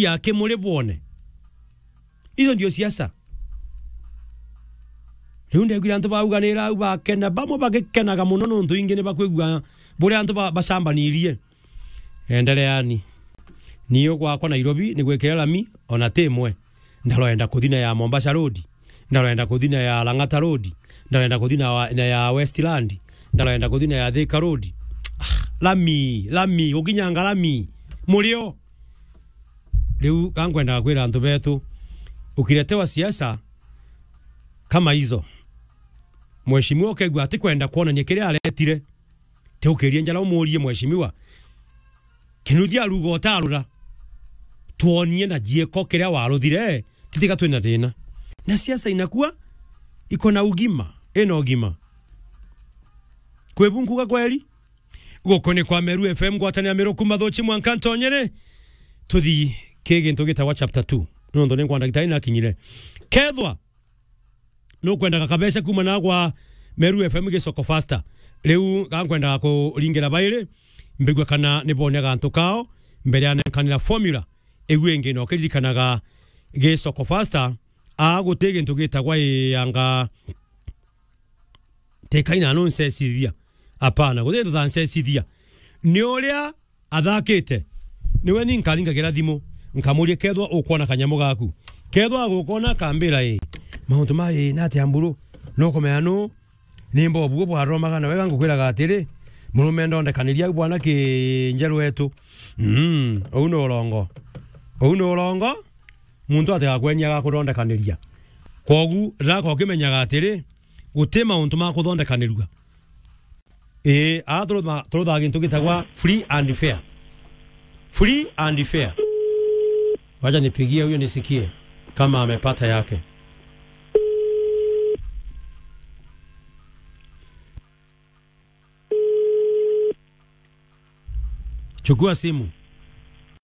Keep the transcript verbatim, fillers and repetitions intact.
ya kimuri bwone. Icio ndio siasa. Riu ndegwira antu bauganira au bakena, bamwe bagikenaga muno nontu ingi ni bakwigua buria antu ba-, bacambanirie. Endeleani. Ni ugwakwa Nairobi ni gwikira lami ona ti imwe. Ndaroenda kuthi na ya Mombasa Road. Ndaroenda kuthi na ya Lang'ata Road. Ndaroenda kuthi na wa-, na ya Westland. Ndaroenda kuthi na ya Thika Road. Ah, lami, lami, gukinyanga lami. Murio. Riu ka nkwendaga kwira antu betu, ukiletewa siasa kama hizo, mheshimiwa ukeigua atikwenda kwonania kiria aretire, ti ukirie njara umurie mheshimiwa, kinuthia aruga utarura, twonie na jieko kiria waruthire, titiga twina thina. Na siasa inakuwa iko na ugima, ina ugima. Kwi bu nkuga kweri? Guku ni kwa Meru F M, ngwatanira Meru kuma Thuchi mwanka Ntonyere. Tuthi ki gintu gitagwa chapter two. Nontu ni nkwa ndagitari nakinyire. Kethwa nukwendaga kabeca kuma na gwa Meru F M gisoko faster. Riu ga nkwendaga kuringira bairi, mbigwe kana ni bonia gantu kao, mbere ya nenkanira formula. Iu ingi no kiririkanaga gisoko faster, a guti gintu gitagwa iyanga Tikaina nuncecithia. Apana, guti ndu thancecithia. Ni uria athakite. Niwe ni nkaringagira thimu, nkamuria kethwa ukwona kanyamu gaku. Kethwa agukona akambira, "Ii, mauntu ma ii, nati amburu? Nukumenya nu? Ni mbobu bwaromaga na wega ngukwiraga atiri, murume ndondekaniria au bwana ki njeru etu." Mm, uu ni urongo. Uu ni urongo. Muntu atigakwenia agakuthondekaniria. Kwogu, raka ukimenyaga atiri, guti mauntu ma kuthondekanirua. Ii, aa turutha-, turuthaga gintu gitagwa free and fair. Free and fair. Wacha nipigie huyo nisikie kama amepata yake. Chukua simu.